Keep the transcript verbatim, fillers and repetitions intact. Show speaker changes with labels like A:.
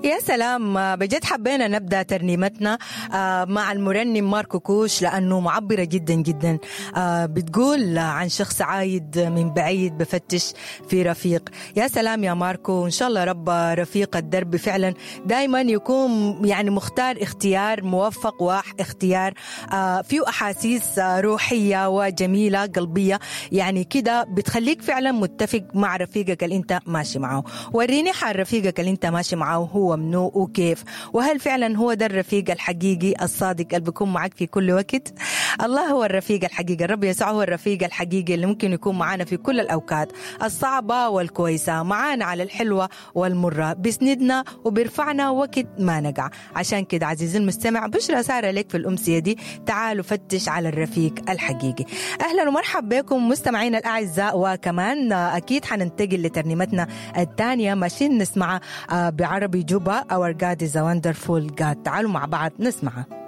A: يا سلام، بجد حبينا نبدا ترنيمتنا مع المرنم ماركو كوش لانه معبرة جدا جدا. بتقول عن شخص عايد من بعيد بفتش في رفيق. يا سلام يا ماركو، ان شاء الله رب رفيق الدرب فعلا دائما يكون يعني مختار اختيار موفق واختيار فيه احاسيس روحية وجميلة قلبية، يعني كده بتخليك فعلا متفق مع رفيقك اللي انت ماشي معه. وريني حال رفيقك اللي انت ماشي معه هو منو وكيف، وهل فعلا هو ده الرفيق الحقيقي الصادق اللي بيكون معك في كل وقت؟ الله هو الرفيق الحقيقي، الرب يسوع هو الرفيق الحقيقي اللي ممكن يكون معنا في كل الأوقات الصعبة والكويسة، معانا على الحلوة والمرة، بيسندنا وبيرفعنا وقت ما نقع. عشان كده عزيزي المستمع، بشرى سارة لك في الأمسية دي، تعالوا فتش على الرفيق الحقيقي. أهلا ومرحبا بكم مستمعينا الأعزاء، وكمان أكيد حننتقل لترنيمتنا الثانية ماشيين نسمعها بعربي جوبا، Our God is a Wonderful God. تعالوا مع بعض نسمعها.